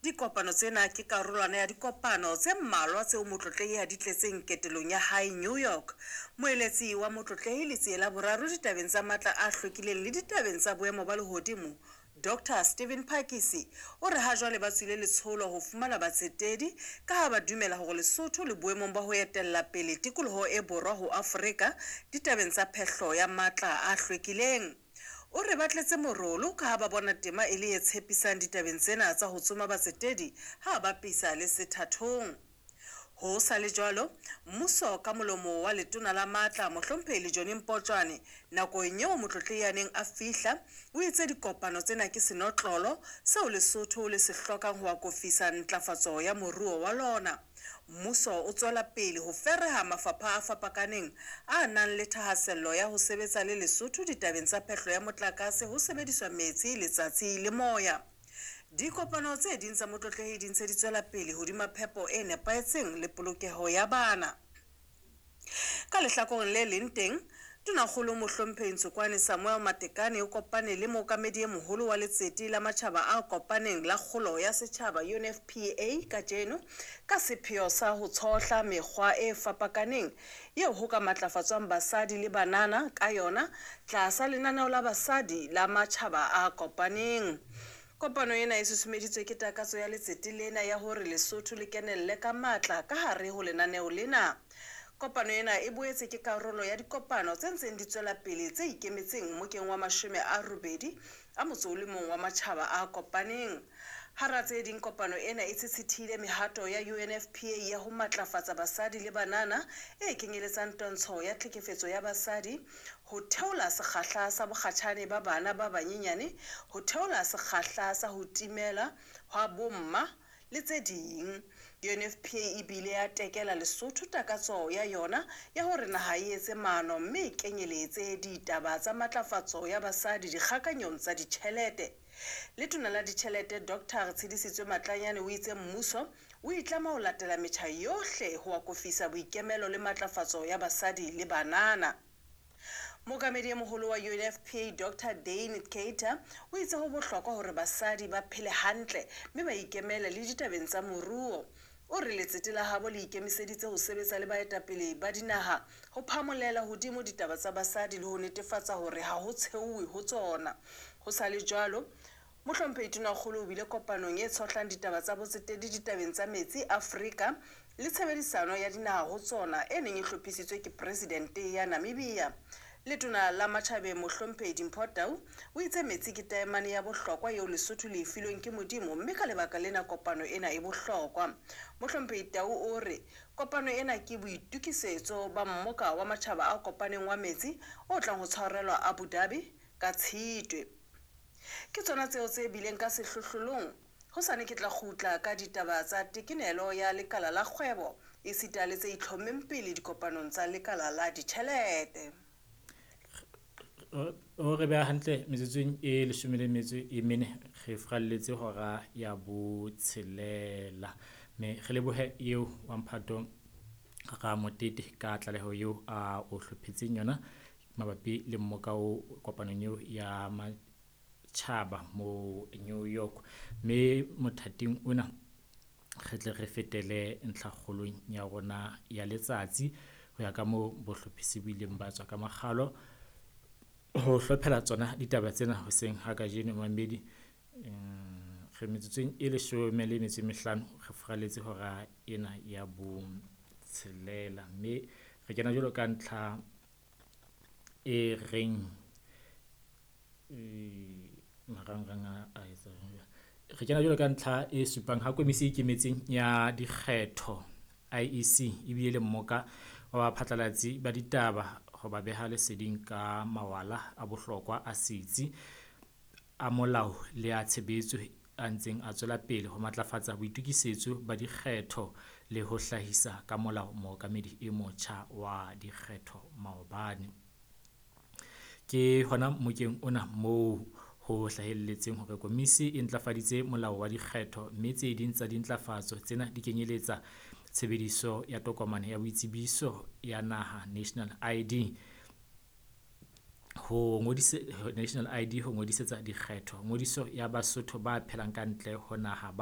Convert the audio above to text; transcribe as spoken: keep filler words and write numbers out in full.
Dikopano tsena ke karolwana ya dikopano tse mmalwa tseo Motlotlehi a di tletseng ketelong ya hae New York. Moeletsi wa Motlotlehi Letsie la Boraro ditabeng tsa matla a hlwekileng le ditabeng tsa boemo ba lehodimo, Doctor Stephen Phakisi, o re ha jwale ba tswile letsholo ho fumana batsetedi ka ha ba dumela hore Lesotho le boemong ba ho etella pele tikoloho e borwa ho Afrika ditabeng tsa phehlo ya matla a hlwekileng. O re ba tletse morolo ka ha ba bona tema e le e tshepisang ditabeng tsena tsa ho tsoma batsetedi ha ba bapisa le sethathong. Ho sa le jwalo, mmuso ka molomo wa letona la matla Mohlomphehi Lejone Mpotjwane nakong eo Motlotlehi a neng a fihla, o itse dikopano tsena ke senotlolo seo Lesotho le se hlokang ho akofisa ntlafatso ya moruo wa lona. Mmuso o tswela pele ho fereha mafapha a fapakaneng a nang le thahasello ya ho sebetsa le Lesotho ditabeng tsa phehlo ya motlakase ho sebediswa metsi, letsatsi le moya. Dikopano tse ding tsa Motlotlehi di ntse di tswela pele hodima phepo e nepahetseng le polokeho ya bana. Ka lehlakoreng le leng teng, Tonakgolo Mohlomphehi Ntsokoane Samuel Matekane o kopane le mookamedi e moholo wa letsete la matjhaba a kopaneng la kgolo ya setjhaba U N F P A kajeno ka sepheo sa ho tshohla mekgwa e fapakaneng eo ho ka matlafatswang basadi le banana ka yona tlasa lenaneo la basadi la matjhaba a kopaneng. Kopano ena e susumeditswe ke takatso ya letsete lena ya hore Lesotho le kenelle ka matla ka hare ho lenaneo lena. Kopano ena e boetse ke karolo ya dikopano tse ntseng di tswela pele tse ikemetseng mmokeng wa mashome a robedi a motso o le mong wa matjhaba a kopaneng. Hara tse ding, kopano ena e tshitshithile mehato ya U N F P A ya ho matlafatsa basadi le banana e kenyeletsang twantsho ya tlhekefetso ya basadi, ho theola sekgahla sa bokgatjhane ba bana ba banyenyane, ho theola sekgahla sa ho timela hwa bomma le tse ding. U N F P A e bile ya tekela Lesotho takatso ya yona ya hore naha e etse maano mme e kenyeletse ditaba tsa matlafatso ya basadi dikgakanyong tsa ditjhelete. Letona la ditjhelete Doctor Tshedisitswe Matlanyane o itse mmuso o itlama ho latela metjha yohle ho akofisa boikemelo le matlafatso ya basadi le banana. Mookamedi e moholo wa U N F P A Doctor Dane Keyter o itse ho bohlokwa hore basadi ba phele hantle mme ba ikemele le ditabeng tsa moruo. O re letsete la habo le ikemiseditse ho sebetsa le baetapele ba dinaha ho phamolela hodimo ditaba tsa basadi le ho netefatsa hore ha ho tsheuwe ho tsona. Ho sa le jwalo, Mohlomphehi Tonakgolo o bile kopanong e tshohlang ditaba tsa botsetedi ditabeng tsa metsi Afrika le tshebedisano ya dinaha ho tsona e neng e hlophisitswe ke Presidente ya Namibia. Letona la Matjhabeng Mohlomphehi Dimpho Tau o itse metsi ke taemane ya bohlokwa eo Lesotho le e filweng ke Modimo mme ka lebaka lena kopano ena e bohlokwa. Mohlomphehi Tau o re kopano ena ke boitokisetso ba mmoka wa matjhaba a kopaneng wa metsi o tlang ho tshwarelwa Abu Dhabi ka Tshitwe. Ke tsona tseo tse bileng ka sehlohlolong. Hosane ke tla kgutla ka ditaba tsa tekenelo ya lekala la kgwebo esita le tse itlhommeng pele dikopanong tsa lekala la ditjhelete. O re beha hantle metsotsong e leshome le metso e mene re fralletse hora ya botshelela. Mme re lebohe eo wa Mphato Ramotete ka tlaleho eo a o hlophetseng yona mabapi le mmoka o kopanong eo ya matjhaba mo New York. Mme mothating ona re tle re fetele ntlhakgolong ya rona ya letsatsi ho ya ka moo bohlophisi bo ileng ba tswa ka makgalo ho hlophela tsona ditaba tsena hoseng ha kajeno mamedi. Re metsotsong e leshome le metso e mehlano re furaletse hora ena ya botshelela, mme re kena jwalo ka ntlha e reng marangrang a etsa re kena jwalo ka ntlha e supang ha komisi e ikemetseng ya dikgetho I E C e bile le mmoka wa baphatlalatsi ba ditaba ho ba beha leseding ka mawala a bohlokwa a setsi a molao le a tshebetso a ntseng a tswela pele ho matlafatsa boitokisetso ba dikgetho le ho hlahisa ka molao mookamedi e motjha wa dikgetho maobane. Ke hona mmokeng ona moo ho hlahelletseng hore komisi e ntlafaditse molao wa dikgetho, mme tse ding tsa dintlafatso tsena di kenyeletsa tshebediso ya tokomane ya boitsebiso ya naha National I D ho ngodise, National I D ho ngodisetsa dikgetho, ngodiso ya Basotho ba phelang ka ntle ho naha ba